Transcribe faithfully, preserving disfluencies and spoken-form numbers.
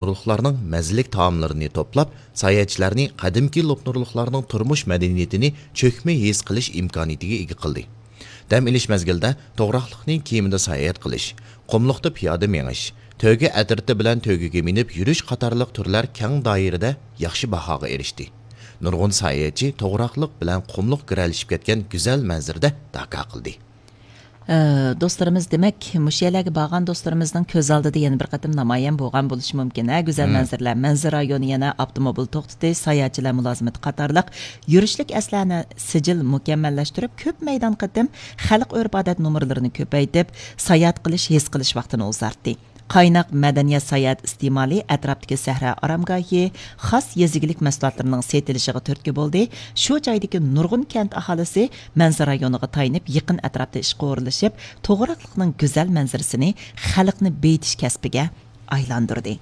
لوپنۇرلۇقلارنىڭ مەززىلىك تائاملىرىنى توپلاپ، ساياھەتچىلەرنى قەدىمكى لوپنۇرلۇقلارنىڭ تۇرمۇش مەدەنىيىتىنى چۆكمە ھېس قىلىش ئىمكانىيىتىگە ئىگە قىلدى. دەم ئېلىش مەزگىلىدە توغراقلىقنى كېمىدە ساياھەت قىلىش، قۇملۇقتا پىيادە مېڭىش، تۆگە ئەترىتى بىلەن تۆگىگە مىنىپ يۈرۈش قاتارلىق تۈرلەر كەڭ دائىرىدە ياخشى باھاغا ئېرىشتى. نۇرغۇن ساياھەتچى توغراقلىق بىلەن قۇملۇق گىرەلىشىپ كەتكەن گۈزەل مەنزىرىدە داكا قىلدى. ئە، دوستلىرىمىز، دېمەك، مۇشۇ يەرلەرگە بارغان دوستلىرىمىزنىڭ كۆز ئالدىدا يەنە بىر قېتىم نامايان بولغان بولۇشى مۇمكىن، ھە، گۈزەل مەنزىرىلەر. مەنزىرە رايونى يەنە ئاپتوموبىل توختىتىش، ساياھەتچىلەر مۇلازىمىتى قاتارلىق يۈرۈشلۈك ئەسلىھەنى سىجىل مۇكەممەللەشتۈرۈپ، كۆپ مەيدان قېتىم خەلق ئۆرپ-ئادەت نومۇرلىرىنى كۆپەيتىپ، ساياھەت قىلىش، ھېس قىلىش ۋاقتىنى ئۇزارتتى. قايناق مەدەنىيەت ساياھەت ئىستېمالى ئەتراپتىكى سەھرا ئارامگاھى، خاس يېزا ئىگىلىك مەھسۇلاتلىرىنىڭ سېتىلىشىغا تۈرتكە بولدى. شۇ جايدىكى نۇرغۇن كەنت ئاھالىسى مەنزىرە رايونىغا تايىنىپ، يېقىن ئەتراپتا ئىشقا ئورۇنلىشىپ، توغراقلىقنىڭ گۈزەل مەنزىرىسىنى خەلقنى بېيىتىش كەسپىگە ئايلاندۇردى.